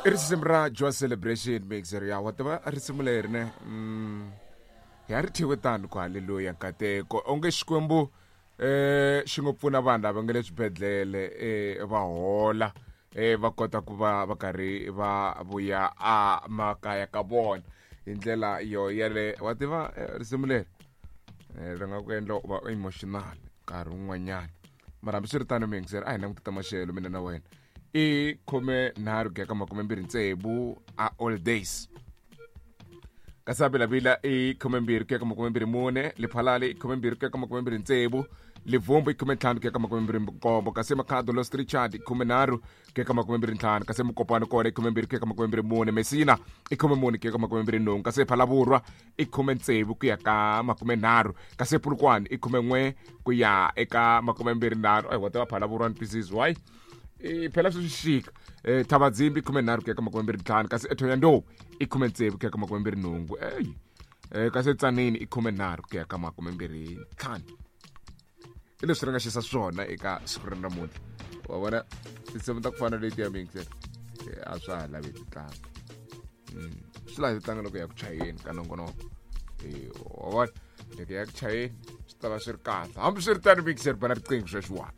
I risimu ra Joy Celebration mixer ya wa tiva risimu leri ne ya ri thyiwe tano ku haleluya nkateko onge Xikwembu xi ngo pfuna vanhu lava nga le swibedhlele va hola va kota ku va va karhi va vuya a makaya ka vona hi ndlela yo yale wa tiva risimu leri ri nga ku endla u va emotional nkarhi wun'wanyana mara hambiswiritano miyingiseri a hi languti ta maxelo mina na wena i 13 ku ya ka 26 a all days kasi abilavila i 12 ku ya ka 24 lephalale i 12 ku ya ka 26 livumbu i 15 ku ya ka 27 kasi makhado los richard i 13 ku ya ka 25 kasi mukopano kona i 12 ku ya ka 24 mesina i 14 ku ya ka 28 kasi phalavurwa i 16 ku ya ka 30 kasi pulukwani i 11 ku ya eka 23 ai wa tiva phalavurwa ni twisisi why phela swi xixika thavadzimbi 13 ku ya ka 25 kasi ethoyandou i 16 ku ya ka 28 ey kasi etsaneni i 13 ku ya ka 25 i leswi ri nga xisa swona eka siku ra namuntlha wa vona tinsimu ta ku fana leti ya mixer a swa ha lavi ti tlanga swi laha ti tlanga loko ya ku chayeni ka nongonoko wa vona loko ya ku chayeni swi ta va swi ri kahle hambi swi ri tano mixer bana riqingho sweswiwani.